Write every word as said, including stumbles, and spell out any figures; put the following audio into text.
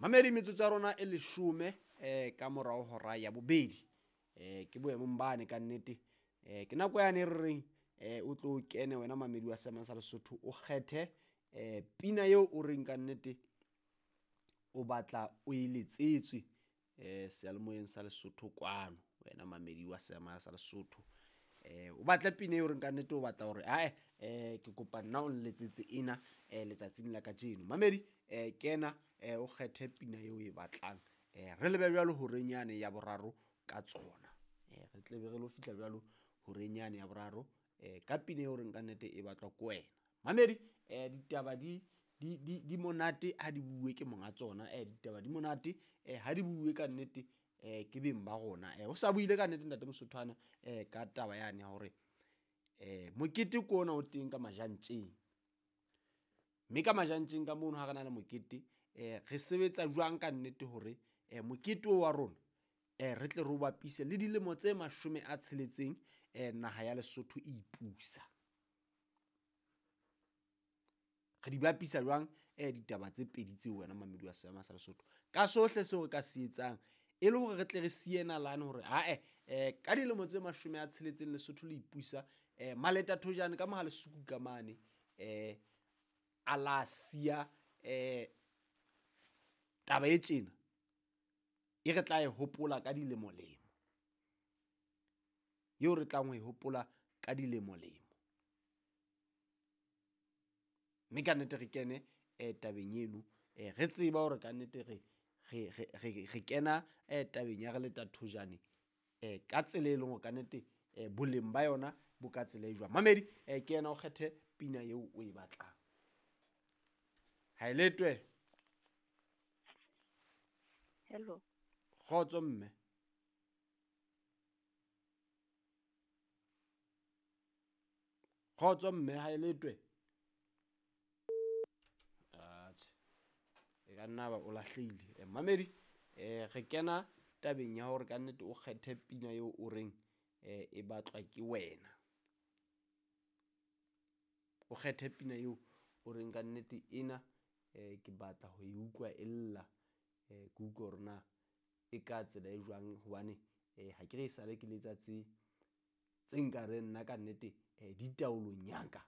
Mamedi metsotso ya rona e leshome eh ka morao hora ya bobedi. Eh ke boemong bane ka nnete. Eh ke nako yane e re reng eh o tlo kene wena mamedi wa Seema sa Lesotho o kgethe eh pina eo o reng ka nnete o batla o e letsetswe eh seyalemoyeng sa Lesotho kwano wena mamedi wa Seema sa Lesotho. Eh o batla pina eo reng ka nnete o batla hore ae eh ke kopa nna o nletsetse ena eh letsatsing la kajeno. Mamedi eh kena eh o kgethe pina eo o e batlang. Eh re lebe jwalo horeng yane ya boraro ka tsona. Eh re tle be re lo fihla jwalo horeng yane ya boraro eh ka pina eo reng ka nnete e batlwa ke wena. Mamedi eh ditaba di di di di monate ha di bue ke monga tsona, eh ditaba di monate eh ha di bue ka nnete eh ke beng ba rona. Eh o sa buile ka nnete ntate Mosothwana eh ka taba yane ya hore eh mokete ke ona o teng ka majantjeng. Mme ka majantjeng ka mono ha re na le mokete eh re sebetsa jwang ka nnete hore eh mokete o wa rona eh re tle re o bapise le dilemo tse mashome a tsheletseng eh naha ya Lesotho e ipusa. Re di bapisa jwang eh ditaba tse pedi tseo wena mamedi wa Seema sa Lesotho ka sohle seo re ka se etsang e le hore re tle re siye nalane hore ae eh ka dilemo tse mashome a tsheletseng Lesotho le ipusa eh Maleta Thojane ka moha Lesuku ka mane eh a la siya eh taba e tjena e re tla e hopola ka dilemo-lemo, eo re tlang ho e hopola ka dilemo-lemo. Mme ka nnete re kene eh tabeng eno eh re tseba hore ka nnete re re re re kena eh tabeng ya re leta thojane eh ka tsela e leng hore ka nnete eh boleng ba yona bo ka tsela e jwang. Mamedi eh ke yena o kgethe pina eo o e batlang. Ha e letwe. Hello. Kgotso mme. Kgotso mme ha e letwe. Atjhe. E ka nna ba o lahlehile. Eh, mamedi eh re kena tabeng ya hore ka nnete o kgethe pina eo o reng eh e batlwa ke wena. O kgethe pina eo o reng ka nnete ena eh ke batla ho e utlwa e lla eh ke utlwe hore na e ka tsela e jwang hobane eh ha ke re e sale ke letsa tse tse nkareng nna ka nnete eh di taolong ya ka.